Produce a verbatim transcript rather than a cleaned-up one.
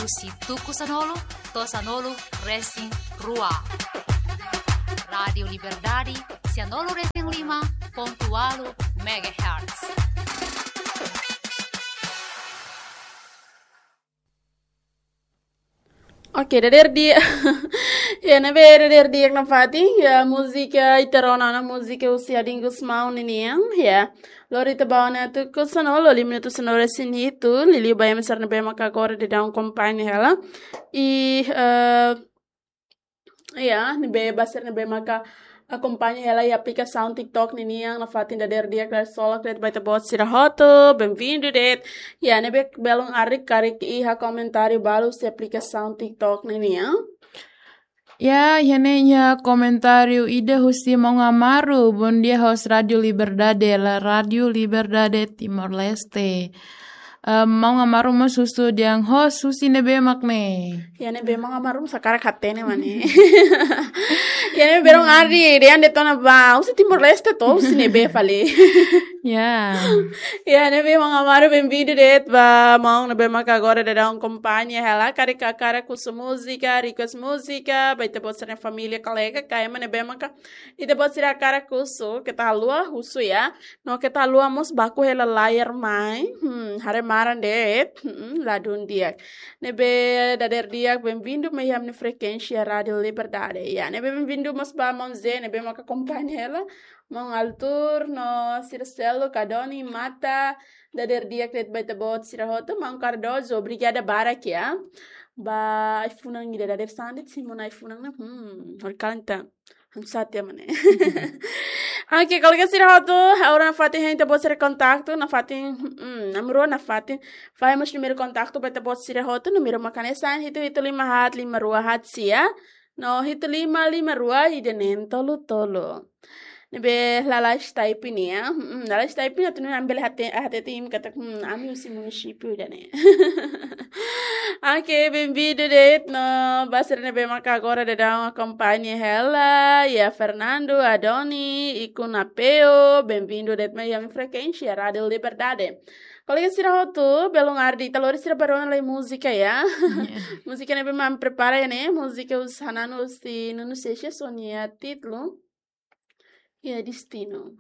husi tuku sanulu to'o sanulu resin rua. Rádiu Liberdade, sianulu resin lima pontu ualu megahertz. Oke, dadeer di'ak. Ya, ne'ebé dadeer di'ak nafatin, ya, múzika ita rona ona, múzika husi Adin Gusmão ninian, ya. Lori ita ba ona tuku sanulu, lima minutu sanulu resin hitu, liuliu ba ema sira ne'ebé maka agora daudaun akompaña hela. I, eh, ya, ne'ebé ba sira ne'ebé maka akompaña hela iha aplikasaun TikTok ninian, nafatin dadeer di'ak, dadeer solok de'it ba ita-boot sira hotu, benvindu de'it. Ya, ne'ebé belun arik karik iha komentáriu balu husi aplikasaun TikTok ninian. Ya, iha ne'e iha komentáriu ida husi Maun Amaru, bom dia host Rádiu Liberdade, la Rádiu Liberdade Timor-Leste. Eh, Maun Amaru mós husu dehan host husi ne'ebé mak ne'e. Ya, ne'ebé Maun Amaru mós hakarak hatene mak ne'e. Ya, ne'ebé belun arik, dehan de'it ona ba, husi Timor-Leste to, husi ne'ebé fali. Ya. Ya, ne'ebé Maun Amaru, benvindu de'it ba maun ne'ebé maka agora daudaun akompaña hela, karik hakarak husu múzika, request múzika ba ita-boot sira-nia família, kolega, ka ema ne'ebé maka ita-boot sira hakarak husu, keta haluha husu ya. No keta haluha mós baku hela layar mai. Hmm, haree maran de'it. Hmm, ladún di'ak. Ne'ebé dadeer di'ak, benvindu mai iha ami-nia frekuénsia Rádiu Liberdade. Ya, ne'ebé benvindu mós ba maun Zé, ne'ebé maka akompaña hela. Maun Altur, no sira seluk, Adoni, Mata, dadeer di'ak de'it ba ita-boot sira hotu, maun Cardoso, obrigada barak ya. Ba ai-funan ida dadeer sande, simu ona ai-funan ne'e. Hmm, hori kalenta. Hanesan tiha mak ne'e. Oke, kolega sira hotu, agora nafatin hein ita-boot sira kontaktu, nafatin, hmm, namrua nafatin. Fahe mós númeru kontaktu ba ita-boot sira hotu, númeru mak hanesan hitu hitu lima haat lima rua haat sia. No hitu lima lima rua ida neen tolu tolu. Ne'ebé lalais type nian. Hmm, lalais type nian atu nune'e ami bele hate, hate tim katak, hmm, ami husi munisípiu ida-ne'e. Oke, benvindu de'it no ba sira ne'ebé maka agora daudaun akompaña hela, ya Fernando, Adoni, Ikun Apeu, benvindu de'it mai ami-nia frekuénsia Rádiu Liberdade. Kolega sira hotu, belun arik ita lori sira ba rona lai múzika ya. Ya. Múzika ne'ebé mak ami prepara iha ne'e, múzika husi Xanana husi Nuno Seixas, ho nia títulu, ya, Destino.